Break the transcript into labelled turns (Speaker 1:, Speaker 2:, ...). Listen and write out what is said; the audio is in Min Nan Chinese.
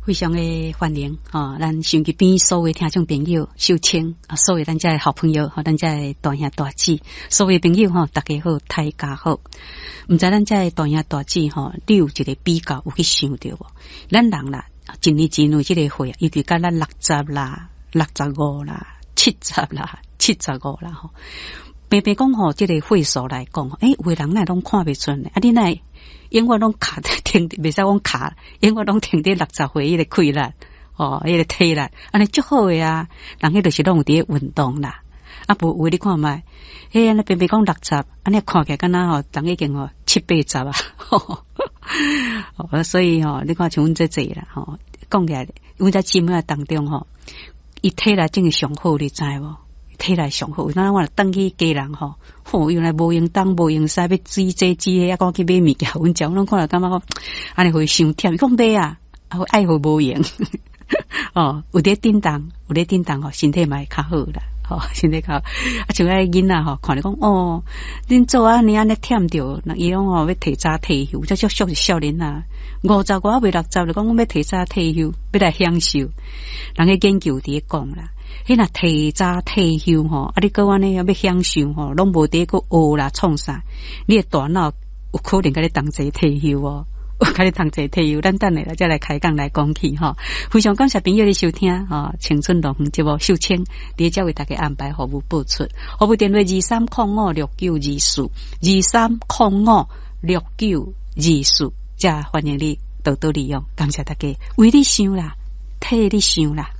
Speaker 1: 非常的歡迎吼，咱收音機邊所有聽眾朋友，秀清啊，所有咱遮的好朋友，吼，咱遮的大兄大姊，所有朋友吼，大家好，大家好。毋知咱遮的大兄大姊吼，你有一個比較有去想著無？咱人啦，一年一年這個歲，尤其佮咱六十啦、65啦、七十啦、75啦吼。平平講吼，這個歲數來講，欸，有的人哪會攏看袂出呢？啊，你哪會永遠攏卡停，袂使講卡，永遠攏停佇六十歲彼個氣力，哦，彼個體力，按呢足好的啊。人彼就是攏有佇咧運動啦。啊，無有的你看覓，彼按呢平平講六十，按呢看起來敢若吼，人已經吼七八十啊。所以吼，你看像阮這濟啦，吼，講起來，阮這姊妹仔當中吼，伊體力真是上好，你知無？體力上好，有當我若轉去家人吼，吼，原來無閒東無閒西，欲煮這煮彼，啊，閣去買物件，阮食，阮攏看著感覺講，按呢予伊傷忝，伊講袂啊，啊愛予無閒，哦，有佇振動，有佇振動吼，身體嘛會較好啦，吼，身體較好。啊，像彼個囡仔吼，看著講哦，恁祖按呢按呢忝著，伊講吼欲提早退休，這足俗是少年仔，五十外未六十就講阮欲提早退休，欲來享受。人个研究佇咧講啦。彼若提早退休吼，啊，你閣按呢欲享受吼，攏無佇閣學啦創啥，你的大腦有可能共你同齊退休哦，有共你同齊退休。咱等下再來開講來講起吼。非常感謝朋友的收聽吼，青春樂園節目秀清，佇遮為大家安排服務播出，服務電話23056924，23056924，遮歡迎你多多利用，感謝大家，為你想啦，替你想啦。